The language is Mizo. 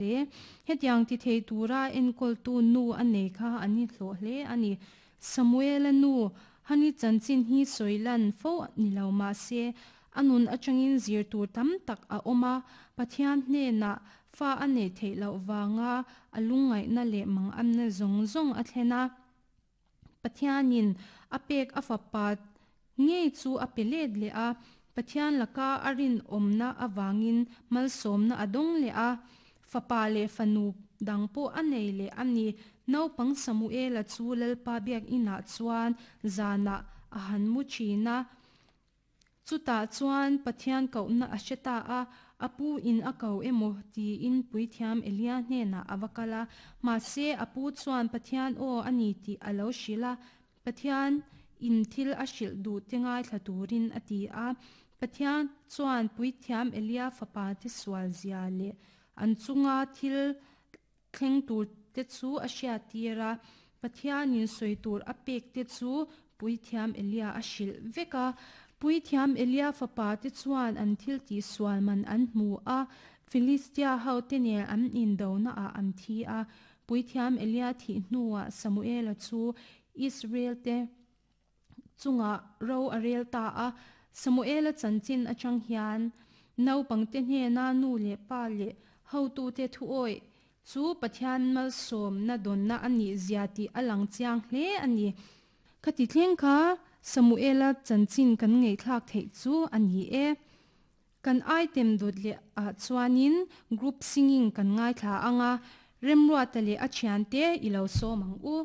Hle. Hetiang ti thei tura enkawltu nu a nei kha an inhlawh hle a ni. Samuela nu Hani chanchin hi sawi lan fo ni lo mah se, a nun atangin zir tur tam tak a awm a, Pathian hnenah fa a neih theih loh vanga a lungngaihna leh mangamna zawng zawng a thlen a. Pathianin a pek a fapa ngei chu a pe let leh a, Pathian laka a rinawmna avangin malsawmna a dawng leh a, fapa leh fanu dang pawh a nei leh a ni. Naupang Samuela chu Lalpa biakinah chuan zanah a han mu thin a. Chutah chuan Pathian kohna a hre ta a, a pu in a ko emaw tiin puithiam Elia hnenah a va kal a. Mahse, a pu chuan Pathian aw a ni tih a lo hrilh a, Pathian in thil a hrilh duh te ngaithla turin a ti a. Pathian chuan puithiam Elia fapa te sual zia leh an chunga thil Thleng tur te chu a hriattir a, Pathianin sawi tur a pek te chu Puithiam Elia a hrilh vek a. Puithiam Elia fapa te chuan an thil tihsual man an hmu a, Filistia ho te nen an indona ah an thi a. Puithiam Elia thih hnuah Samuela chu Israel te chungah ro a rel ta a. Samuela chanchin atang hian naupangte hnena nu leh pa leh hotute thuawih chu Pathian malsawmna dawnna a nih zia tih a lang chiang hle a ni. Khati thleng kha Samuela chanchin kan ngaihthlak theih chu a ni e. Kan item dawt leh ah chuanin group singing kan ngaithla ang a, Remruata leh a thiante i lo sawm ang u.